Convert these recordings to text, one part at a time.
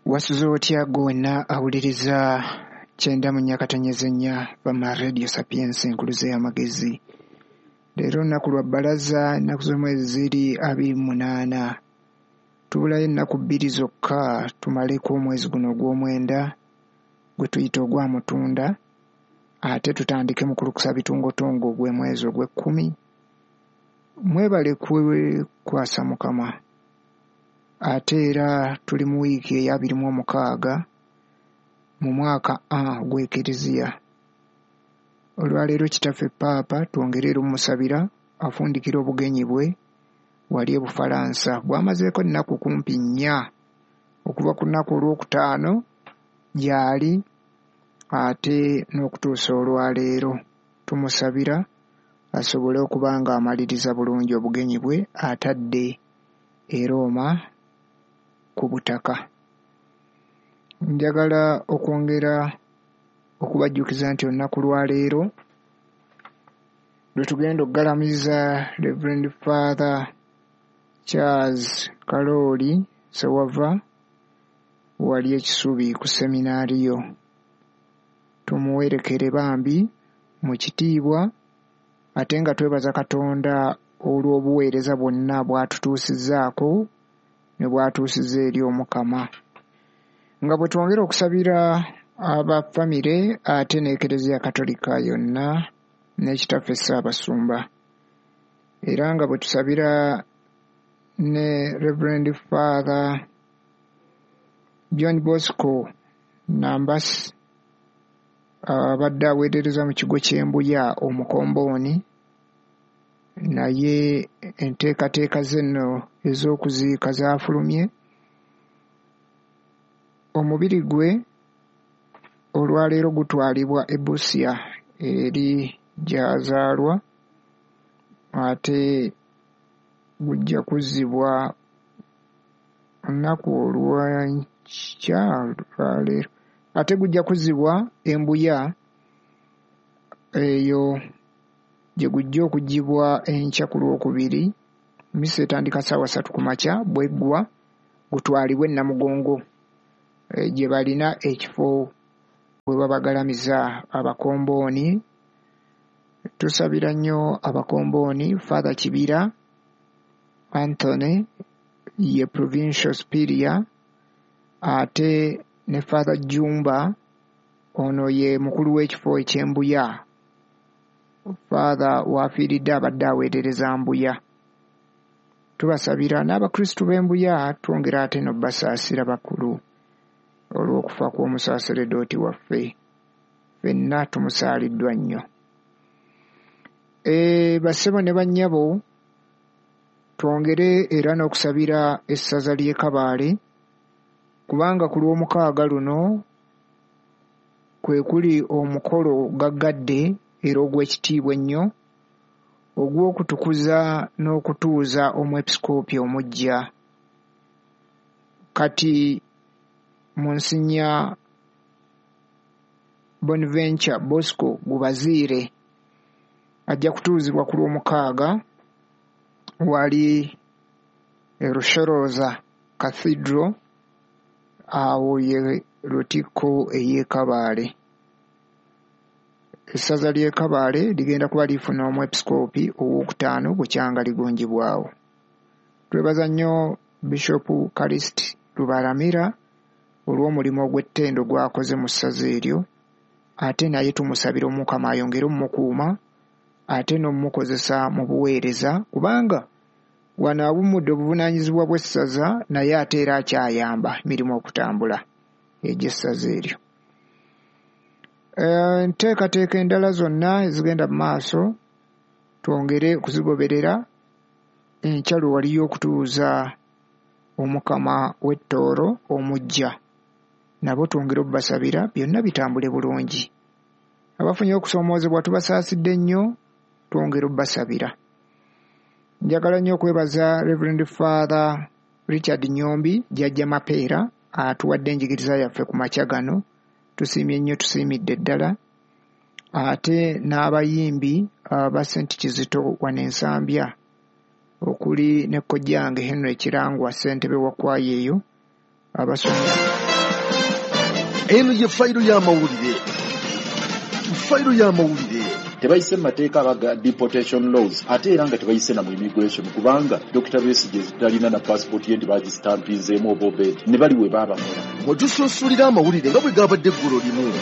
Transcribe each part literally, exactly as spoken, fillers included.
Wasuze otya gwe wenna awuliriza kyenda mu nnya katonyeze nnya Bama Radio Sapientia enkuluze y'amagezi. Leero olunaku lwa bbalaza, ennaku z'omwezi ziri abiri mu munaana. Tubulayo ennaku bbiri zokka tumaleko omwezi guno ogw'omwenda gwe tuyita ogwa Mutunda, ate tutandike mu kulukusa bitungotungo ogw'omwezi ogw'ekkumi. Mwebale kwekwasa Mukama. Ate era tuli mu wiiki ey'abiri mu omukaaga mu mwaka A ogw'Ekereziya. Olwaleero kitaffe Paapa twongere era omusabira afundikira obugenyi bwe wali e Bufalansa. Bw'amazeeko ennaku kumpi nnya okuva ku lunaku olwokutaano gy'ali ate n'okutuusa olwaleero. Tumusabira asobole okuba ng'amaliriza bulungi obugenyi bwe atadde e Roma ku butaka. Njagala okwongera okubajjukiza nti olunaku lwaleero lwe tugenda okugalamiza Reverend Father Charles Kalooli Ssewava wali e Kisubi ku seminaariyo. Tumuwerekere bambi mu kitiibwa ate nga twebaza Katonda olw'obuweereza bwonna bw'atutuusizzaako ne bw'atuusizza eri Omukama. Nga bwe twongera okusabira aba famire ate n'Ekereziya Katolika yonna ne Kitaffe Ssaabasumba. Era nga bwe tusabira ne Reverend Father John Bosco Nambasi abadde aweerereza mu kigo ky'e Mbuya Omukombooni, naye enteekateeka ze nno ez'okuziika zaafulumye. Omubiri gwe olwaleero gutwalibwa e Busia eri gy'azaalwa, ate gujja kuzzibwa olunaku olw'enkya lwaleero, ate gujja kuzzibwa e Mbuya eyo gye gujja okuggyibwa enkya ku Lwokubiri. Mmisa etandika ssaawa ssatu ku makya, bw'eggwa gutwalibwe e Namugongo gye balina ekifo we babagalamiza abakombooni. Tusabira nnyo abakombooni Father Kibira Anthony ye Provincial Superior, ate ne Father Jumba ono ye mukulu w'ekifo eky'e Mbuya. Father w'afiiridde abadde aweerereza Mbuya. Tubasabira n'Abakristu b'e Mbuya, twongera ate n'obbasaasira bakulu olw'okufa kw'omusaaseredooti waffe. Ffenna tumusaaliddwa nnyo. E, bassebo ne bannyabo, twongere era n'okusabira essaza ly'e Kabaale, kubanga ku lw'omukaaga luno kwe kuli omukolo gaggadde era ogw'ekitiibwa ennyo ogw'okutukuza n'okutuuza omwepisikoopi omuggya. Kati Monsignor Bonaventure Bosco Gubaziire ajja kutuuzibwa ku lw'omukaaga wali e Rushoroza Cathedral, awo ye Lutikko ey'e Kabaale. Essaza ly'e Kabaale ligenda kuba lifuna omwepisikoopi owookutaano bukyanga ligunjibwawo. Twebaza nnyo Bishop Callist Rubaramira olw'omulimu ogw'ettendo gw'akoze mu ssaza eryo, ate naye tumusabira Omukama ayongere omumukuuma ate n'omukozesa mu buweereza, kubanga wano awummudde obuvunaanyizibwa bw'essaza naye ate era akyayamba emirimu okutambula egy'essaza eryo. Enteekateeka endala zonna ezigenda mu maaso twongere okuzigoberera. Enkya lwe waliyo okutuuza Omukama w'e Tooro omuggya, nabo twongere obbasabira byonna bitambule bulungi. Abafunye okusoomoozebwa tubasaasidde nnyo, twongere obbasabira. Njagala nnyo okwebaza Reverend Father Richard Nyombi Jjajja Mapeera atuwadde enjigiriza yaffe ku makya gano. Tusiimye nnyo, tusiimidde ddala. Ate n'abayimbi aba Ssent Kizito wano e Nsambya okuli ne kojjange Henry Kirangwa ssentebe wa kwaya eyo abasomye Eno ye fayiro y'amawulire. Fayiro y'amawulire. Tebayise mu mateeka aga deportation laws, ate era nga tebayise na mu immigration, kubanga Doctor Besigye talina na passport ye nti bagistampinzeemu oba obedi ne bali we baabakola. Mwe tusunsulira amawulire nga bwe gabadde eggulo limu.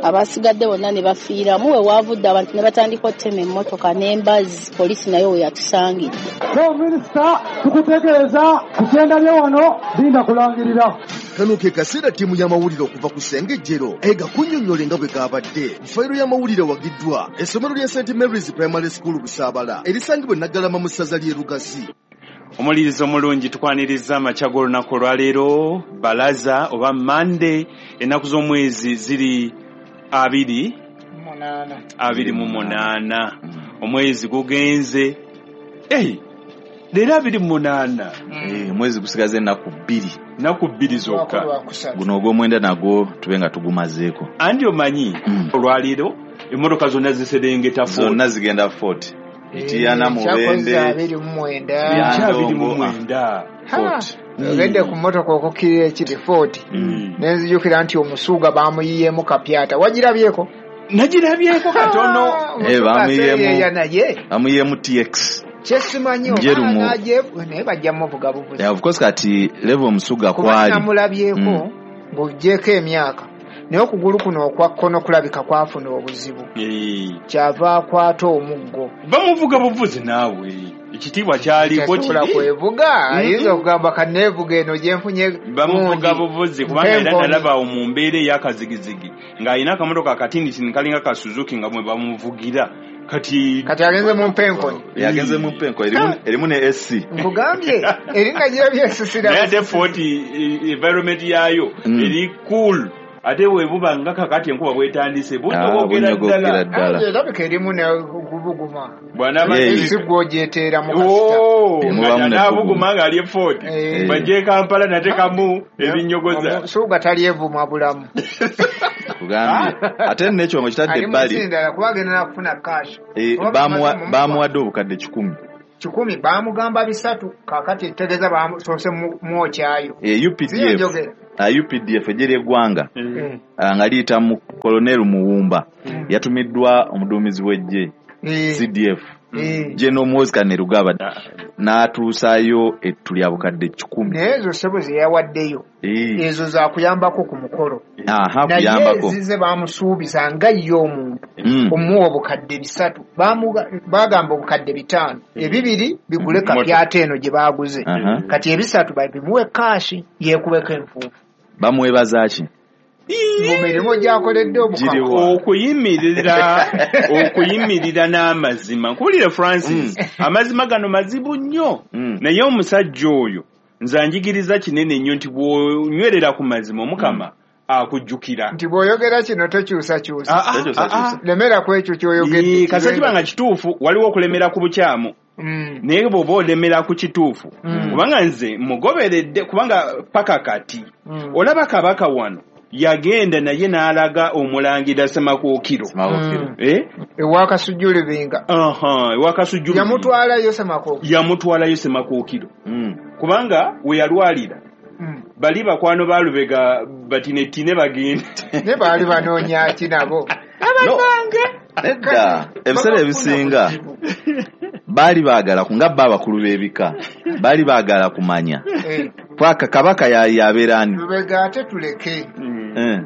Abasigadde bonna ne bafiiramu. We waavudde abantu ne batandika okutema emmotoka n'embazzi, poliisi nayo we yatusangidde. So minisita, tukutegeeza ku kyendabye wano, linda kulangirira. Kano ke kaseera ttiimu y'amawulire okuva ku Ssengejjero egakunnyonnyole nga bwe gabadde. Fayiro y'amawulire wagiddwa essomero lya Saint Mary's Primary School Busaabala, erisangibwa e Naggalama mu ssaza ly'e Lugazi. Omulirizo omulungi, tukwaniriza amakya g'olunaku olwaleero, balaza oba Mande, ennaku z'omwezi ziri abiri munaana. Abiri mu munaana, omwezi gugenze. Ei, leero abiri mu munaana. Eh, omwezi gusigaze ennaku bbiri. Nnaku bbiri zokka. Lwakusatu. Guno ogw'omwenda nagwo tube nga tugumazeeko. Andi omanyi, Mm. olwaleero emmotoka zonna ziserengeta Fort. Zonna zigenda Fort Mityana, Kyakoze Mubende. abiri mu mwenda. Ya. Enkya abiri mu Ndongo, mwenda. Fort. Ogedde ku mmotoka okukkirira ekiri Fort, Mm. nenzijukira nti omusuuga bamuyiyeemu kapyata. Wagirabyeko? Nagirabyeko katono. Ah, Eh, omusuuga bamuyiyeemu- aseeyeeya naye bamuyiyeemu T X. Kyesimanyi Njeru mu- oba naye bajja muvuga buvuzi. Yeah, of course, kati level omusuga Kuba kwali namulabyeko, Mm. ng'ogyeko emyaka, naye okugulu kuno okwa kkono kulabika kwafuna obuzibu, Eh, kyava akwata omuggo. Bamuvuga buvuzi naawe, ekitiibwa kyaliko. Tasobola Kiri kwevuga. Mm-mm. Ayinza okugamba kaneevuga eno gyenfunye Bamuvuga gundi. buvuzi, kubanga era Mpenkoni. nalaba awo mu mbeera ey'akazigizigi ng'alina akamotoka akatinitini kalinga ka Suzuki nga mwe bamuvugira kati. Kati agenze mu mpenkoni. Yagenze mu mpenko, erimu erimu ne A C. Nkugambye eringa girabye esisira. Naye ate Fort eh, environment yaayo Mm. eri cool, ate bwebuba nga kakati enkuba bwetandise Ah, bunyogokera bunyogokera ddala. ddala. Erabika erimu nekubuguma. Bw'anaaba Yeah. Ensi gwogyetera mu kasita. Oh, Mubamu nga ne n'abuguma ng'ali e Fort, Eh. bajje e Kampala natekamu ebinyogoza. Omusuuga talyevuma bulamu. Kugambye ate n'ekyongo kitadde Ali mu ebbali. nsi ndala, kuba agenda nakufuna cash. Eh, Oba bamuwa- bamaze bamuwadde obukadde kikumi. Kikumi, bamugamba bisatu, kakati tegeeza bamusoose mwokyayo. Eh, U P D F. Siyo njogera. Ah, U P D F, ejje ly'eggwanga, Mm. ah, nga liyita mu Kolonel Muwumba, yatumiddwa omuduumizi w'eggye Eh, C D F eh. General Muhoozi Kainerugaba, n'atuusaayo ettu lya bukadde kikumi. Naye ezo ssebo ze yawaddeyo, Eh, ezo zakuyambako ku mukolo, aha, naye kuyambako. ezize bamusuubiza nga ye omuntu Mm. omuwa obukadde bisatu. Bamuga- bagamba obukadde bitaano, ebibiri bigule kapyata eno gye baguze, Aha. kati ebisatu babimuwe cash yeekubeko enfuufu. Bamwebaza ki? Mu mirimu gyakoledde obukama. Giriwa? okuyimirira okuyimirira n'amazima. Nkuwulire Francis, amazima gano mazibu nnyo. Mm. Naye omusajja oyo nze anjigiriza kinene nnyo nti bw'onywerera ku mazima, Omukama akujjukira. Nti bw'oyogera kino tokyusakyusa. Ah, ah, Tokyusakyusa. ah, ah. Lemera ku ekyo ky'oyogedde. Ee, kasita kiba nga kituufu, waliwo okulemera ku bukyamu, Mm. naye bw'oba olemera ku kituufu, Mm. kubanga nze mugoberedde, kubanga paka kati Mm. olaba kabaka wano yagenda naye n'alaga omulangira Semakookiro. Semakookiro. Mm. Eh? Ewa Kasujju Lubinga. Aha, ewa Kasujju. Yamutwalayo Semakookiro. Yamutwalayo Semakookiro, Mm. kubanga we yalwalira, Mm. bali bakwano ba Lubega batinetine bagenda. Ne baali banoonya ki nabo? No, nedda, ebiseera ebisinga baali baagala ku- nga bo abakulu b'ebika baali baagala kumanya Eh, paka kabaka ya- yabeera ani. Lubega ate tuleke, Eh,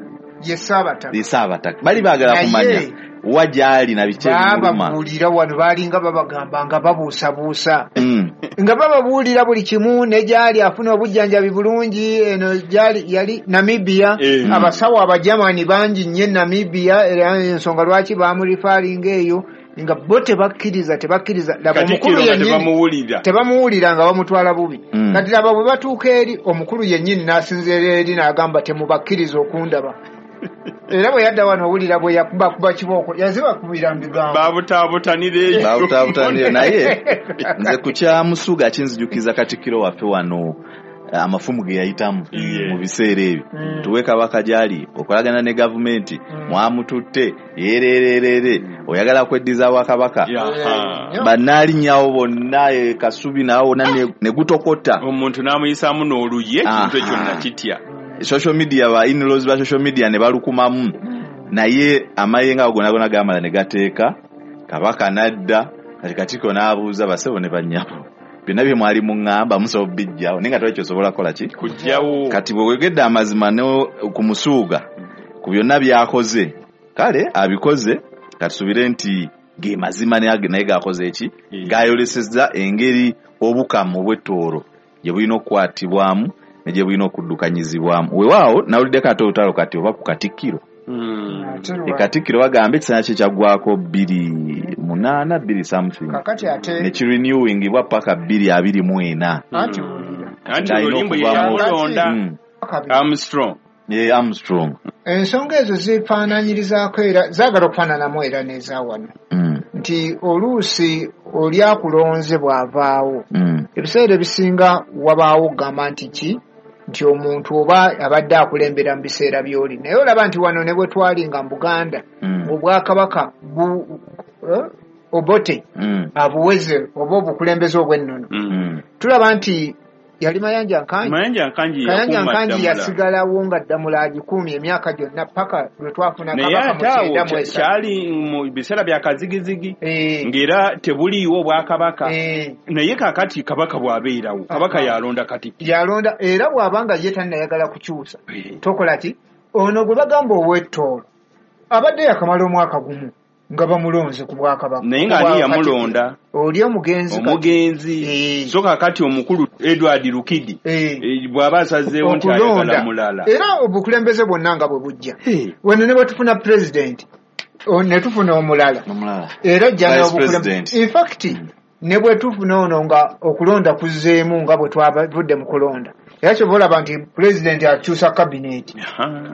ye Ssaabataka. Ye Ssaabataka. Bali baagala Naye- kumanya wa gy'ali na biki ebimuluma. Baababuulira wano, baalinga babagamba nga babuusabuusa, Mm. nga bababuulira buli kimu, ne gyali afuna obujjanjabi bulungi. Eno gyali yali Namibia. Eh. Abasawo Abajamani bangi nnyo e Namibia, era ensonga lwaki bamurifaalinga eyo, nga bo tebakkiriza tebakkiriza Laba omukulu Katikkiro nga yennyini tebamuwulira. Tebamuwulira, nga bamutwala bubi. Mm. Kati laba bwe batuuka eri, omukulu yennyini n'asinziira eri n'agamba temubakkiriza okundaba. Era bwe yadda wano, owulira bwe yakubakuba kibooko, yazibakubira mu bigambo. Babutaabutanira eyo. Babutaabutanire. Naye nze ku kya Musuga kinzijukiza katikkiro waffe wano, eh, amafumu ge yayitamu Yeah. mu biseera ebyo. Mm. Tuwe kabaka gyali okolagana ne gavumenti, Mm. mwamututte yeerererere, oyagala kweddiza bwakabaka. Yaha. Nnyo. Bannaalinyawo bonna, eh, Kasubi nawo wonna ne- ne gutokota. Omuntu n'amuyisaamu n'oluyi, ekintu ekyo Aha. nakitya. Social media ba in-laws ba social media ne balukumamu. Naye amayenga ago gonna gamala ne gateeka kabaka nadda kati Katikkiro n'abuuza basebo ne bannyabo byonna bye mwali muŋŋamba musobola bijjawo naye nga tewali ky'osobola kukola ki kujjawo. Kati bw'oyogedde amazima ne ku musuuga ku byonna by'akoze kale abikoze katusubire nti ge mazima naye gakoze eki gayolesezza engeri obukamu obw'ettooro gye bulina okukwatibwamu ne gye bulina okuddukanyizibwamu. Weewaawo nawuliddeko ate olutalo kati oba ku Katikkiro. E Katikkiro bagamba ekisanja kye kyaggwako bbiri munaana bbiri something ne kirenewingibwa paka bbiri abiri mu ena. Anti oluyimbo ye yamulonda Armstrong. Ye Armstrong. Ensonga ezo zifaananyirizaako era zaagala okufaananamu era n'eza wano nti oluusi oli akulonze bw'avaawo ebiseera ebisinga wabaawo okugamba nti ki nti omuntu oba abadde akulembera mu biseera by'oli naye olaba nti wano ne bwe twalinga mu Buganda obwakabaka Obote abuweze oba obukulembeze obw'ennono tulaba nti yali Mayanja Nkangi. Mayanja Nkangi Mayanja Nkangi yasigalawo nga Ddamula agikuumye emyaka gyonna paka lwe twafuna kabaka mu kyenda mu esatu. Kyali mu biseera bya kazigizigi ng'era tebuliiwo obwakabaka naye kaakati kabaka bw'abeerawo kabaka yalonda Katikkiro yalonda era bw'aba nga ye tannayagala kukyusa tokola ki ono gwe bagamba ow'ettoolo abadde yakamala omwaka gumu nga bamulonze ku bwakabaka naye nga ani yamulonda oli omugenzi omugenzi so kaakati omukulu Edward Lukidi bw'aba asazeewo nti ayagala mulala era obukulembeze bwonna nga bwe bujja wano ne bwe tufuna pulezidenti ne tufuna omulala era ajja n'obukulembeze in fact ne bwe tufuna ono nga okulonda kuzzeemu nga bwe twavudde mu kulonda era kyova olaba nti pulezidenti akyusa kabineeti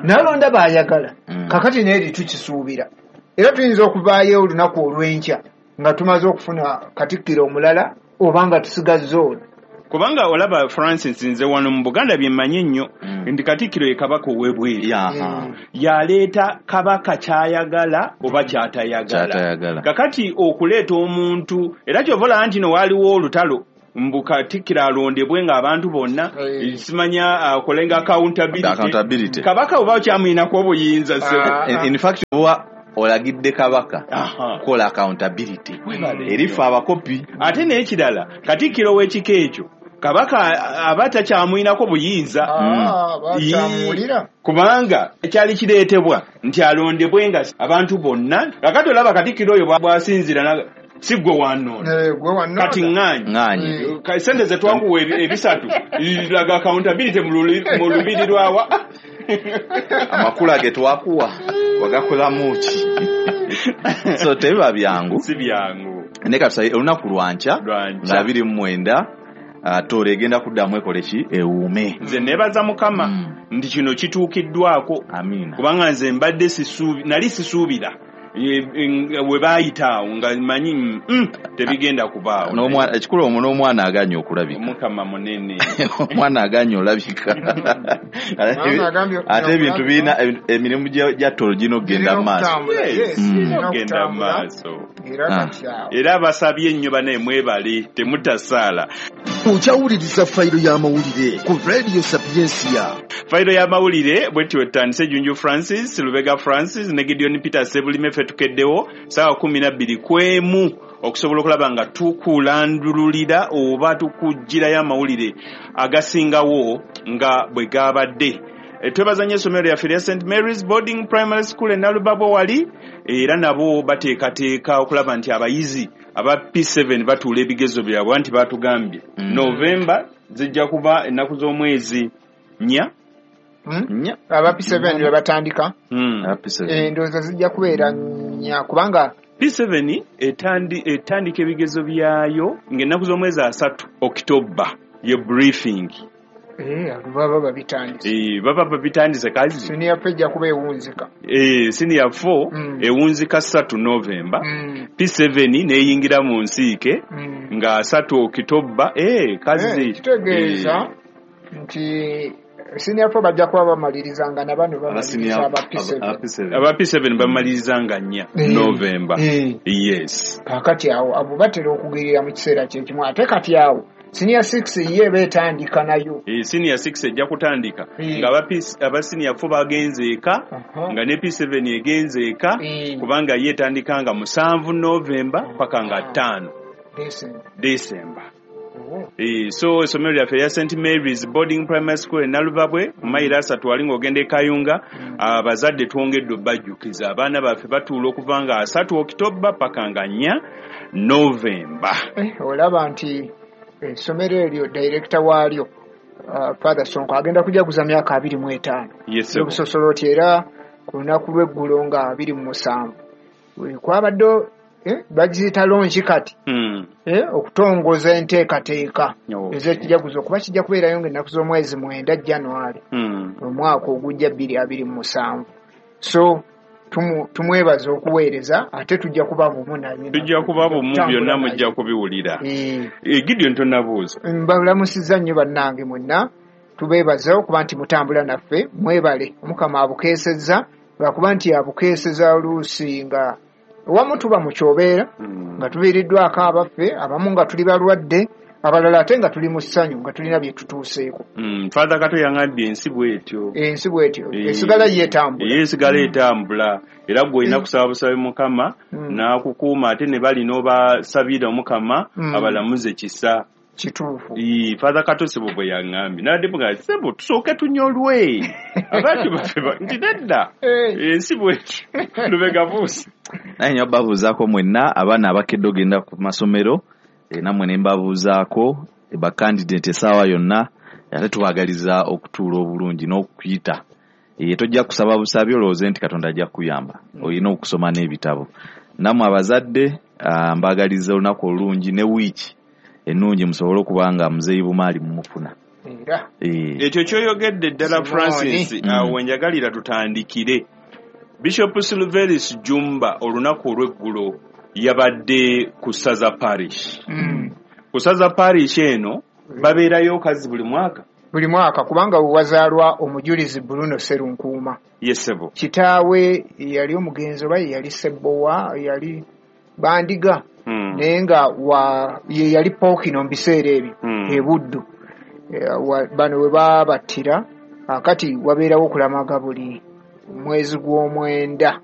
n'alonda b'ayagala kakati naye tukisuubira era tuyinza okuvaayo olunaku olw'enkya nga tumaze okufuna Katikkiro omulala oba nga tusigazza ono. Kubanga olaba Francis nze wano mu Buganda bye mmanyi ennyo nti Katikkiro ye kabaka ow'ebweru yaleeta kabaka ky'ayagala oba ky'atayagala. Kakati okuleeta omuntu era kyova olaba nti no waaliwo olutalo mbu Katikkiro alondebwe ng'abantu bonna simanya akolenga accountability kabaka oba okyamuyinako obuyinza. In fact oba olagidde kabaka kukola accountability erifa abakopi. Ate n'ekirala Katikkiro w'ekika ekyo kabaka aba takyamuyinako buyinza kubanga ekyali kireetebwa nti alondebwe nga abantu bonna. Kakati olaba Katikkiro oyo bw'asinziira si gwe wannona kati ŋŋaanyi sente ze twakuwa ebisatu laga accountability mu lubiri lwawa amakula ge twakuwa wagakolamu ki? So tebiba byangu si byangu. Naye katusabe olunaku lwankya nga abiri mu mwenda Tooro egenda kuddamu ekole ki ewuume. Nze neebaza Mukama nti kino kituukiddwako. Amiina. Kubanga nze mbadde nali sisuubira we baayita awo nga manyi tebigenda kubaawo. Ekikulu omwo n'omwana aganye okulabika. Omukama munene. Omwana aganye olabika. Ate ebintu birina emirimu gya Tooro girina okugenda mu maaso. Genda mu maaso. Era abasabye ennyo banaye mwebale temutasaala. Okyawuliriza fayiro y'amawulire ku Radio Sapiensia. Fayiro y'amawulire bwetyo etandise Junju Francis, Lubega Francis ne Gideon Peter Sebulime ffe tukeddewo ssaawa kumi na bbiri kwemu okusobola okulaba nga tukulandululira oba tukugirayo amawulire agasingawo nga bwe gabadde. Twebaza nnyo essomero lyaffe lya Saint Mary's Boarding Primary School e Nalubabo wali era nabo bateekateeka okulaba nti abayizi aba P seven batuula ebigezo byabwe anti batugambye November zijja kuba ennaku z'omwezi nnya. Aba P seven lwe batandika endowooza zijja kubeera nnya kubanga P seven etandika ebigezo byayo ng'ennaku z'omwezi asatu October ye briefing. Eh, baba babitandise. Eh, baba babitandise kazi. Senior four ejja kuba ewunzika. Eh, senior four mm. ewunzika ssatu November. Mm. P seven neyingira mu nsiike mm. nga asatu October. Eh, kazi. Eh, kitegeeza eh. nti senior four bajja kuba bamalirizanga na bano bamaliriza aba P seven. Aba P seven bamalirizanga nnya eh. November. Eh. Yes. Kakati awo abo batera okugirira mu kiseera kye kimu ate kati awo Senior six ye eba etandika nayo. Eh, senior six ejja kutandika Eh. nga aba P- aba senior four bagenze eka, Aha. nga ne P seven egenze eka, Eh. kubanga ye etandika nga musanvu November paka nga Ah. ttaano December. December. Oh. Eh, so essomero lyaffe erya Saint Mary's Boarding Primary School e Nalubabwe ku mayiro asatu wali ng'ogenda e Kayunga, abazadde twongedde obbajjukiza abaana baffe batuula okuva nga asatu Okitoba paka nga nnya November. Eh, olaba nti essomero eryo director waalyo uh, Father Sonko agenda kujaguza myaka abiri mu etaano Yes, sir. obusosoloti, era ku lunaku lw'eggulo nga abiri mu musanvu Eh, kwabadde eh, bagiyita launch kati, Mm. eh, okutongoza enteekateeka Okay. ez'ekijaguzo, kuba kijja kubeerayo ng'ennaku z'omwezi mwenda January Mm. omwaka ogujja bbiri abiri mu musanvu. So tumu- tumwebaza okuweereza, ate tujja kuba bumu naye. Tujja kuba bumu, Tutambula byonna naye. mujja kubiwulira. Eh, Eh, Gideon, tonabuuza. Mbalamusizza nnyo bannange mwenna, tubeebaza okuba nti mutambula naffe. Mwebale, Omukama abukeesezza, lwakuba nti abukeeseza oluusi nga wamu tuba mu kyobeera, Mm. nga tuviiriddwako abaffe abamu, nga tuli balwadde, abalala ate nga tuli mu ssanyu, nga tulina bye tutuuseeko. Mm. Father Kato yaŋambye ensi bw'etyo. Ensi bwetyo Eh, esigala yeetambula. Ye esigala etambula, era gwe olina kusaba busabe Mukama Mm. n'akukuuma, ate ne bali n'obasabira Omukama Mm. abalamuze kisa. Kituufu. Ii, Father Kato sebo bwe yaŋŋambye, nabadde mugamba, sebo tusooke tunyolwe abantu baffe ba- nti nedda, Eh. ensi bwetyo. Lubega buusi. Naye nyo babuuzaako mwenna abaana abakedde ogenda ku masomero, eh, nammwe ne mbabuuzaako bakandidate essaawa yonna, ate tubaagaliza okutuula obulungi n'okuyita. Eh, tojja kusaba busabi olowooze nti Katonda ajja kukuyamba, olina okusoma n'ebitabo. Nammwe abazadde, ah, mbaagaliza olunaku olulungi ne wiiki ennungi, musobole okuba nga muzeeyi Bumaali mumufuna. Era Eh, Ekyo kyoyogedde ddala. Simooni. Francis, Mm. awo wenjagalira tutandikire. Bishop Silveris Jumba olunaku olw'eggulo yabadde ku Ssaza Parish. Mm. Ku Ssaza Parish eno babeerayo kazi buli mwaka. Buli mwaka, kubanga wewazaalwa omujulizi Bruno Serunkuuma. Yesebo. Kitaawe yali omugenzi, oba ye yali Sebbowa, yali Bandiga, Mm. naye nga wa ye yali Pookino mu biseera ebyo Mm. e Buddu. Eh, wa- bano we baabattira, akati wabeerawo okulamaga buli mwezi gw'omwenda.